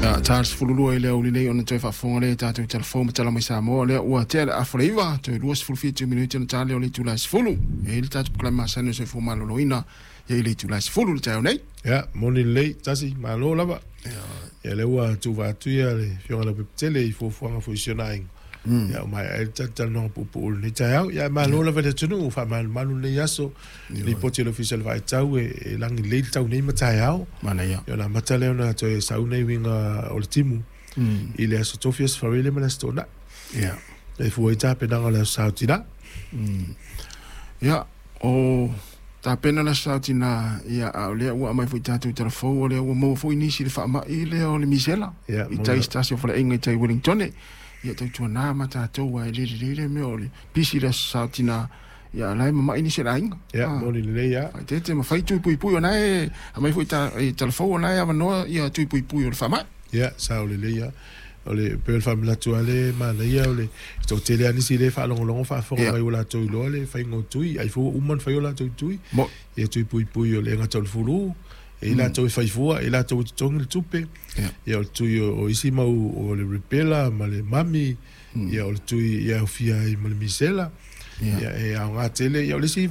Ia, ta le 12 i le aoauli nei ona toe faafofoga lea i tatou talafou ma tala mai Samoa, lea ua tea le afa le 9, toe 27 minute ona ta lea o le itula e 10. E i ai le tatou polokalame masani o le soifua maloloina ia i le itula e 10 le taeao nei. Ia, moni lelei, tasi, malo lava. Ia, lea ua tuva atu ia le Afioga i le Pepetele i fuafuaga foi i si ona aiga. Ia, ua maea ai le talatalanoaga puupuu i lenei taeao. Ia, malo lava i le atunuu, faamalumalu lenei aso. Lipoti a le Ofisa o le Vaitau e lagi lelei le tau nei ma taeao. Manaia. Ia, ona amata lea ona toe sau nei uiga o le timu i le aso Tofi, aso Faraile ma le aso Toonai. E fua ai tapenaga o le aso Sa o Tina. Ia, o tapena le aso Sa o Tina, ia, a o lea ua aumai foi i tatou talafou, o lea ua maua foi nisi i le faamai lea o le misela. I tai se tasi o faleaiga i tai Wellingtone. Ia, tautuana ma tatou, aua e le lelei lea mea o le pisi i le aso Sa o Tina. Ia, la e mamai nisi o le aiga. Ia, moni lelei lava. Faaeteete ma fai tui puipui, o na e aumai foi i talafou, o na e avanoa ia tui puipui o le faamai. Ia, sao lelei lava. O le pei o le faamanatu lava lea e manaia o le toatele lava nisi lea e faalogologo faafofoga mai ua latou iloa le faiga o tui, ai foi ua uma ona fai o latou tui. Ia, tui puipui o le gata o le fulu, e i latou e fai fua, e i latou e totogi le tupe. Ia, o le tui o isi mau o le rubella ma le mami, ia o le tui e aofia ai ma le misela. Ia, e aoga tele. Ia, o le isi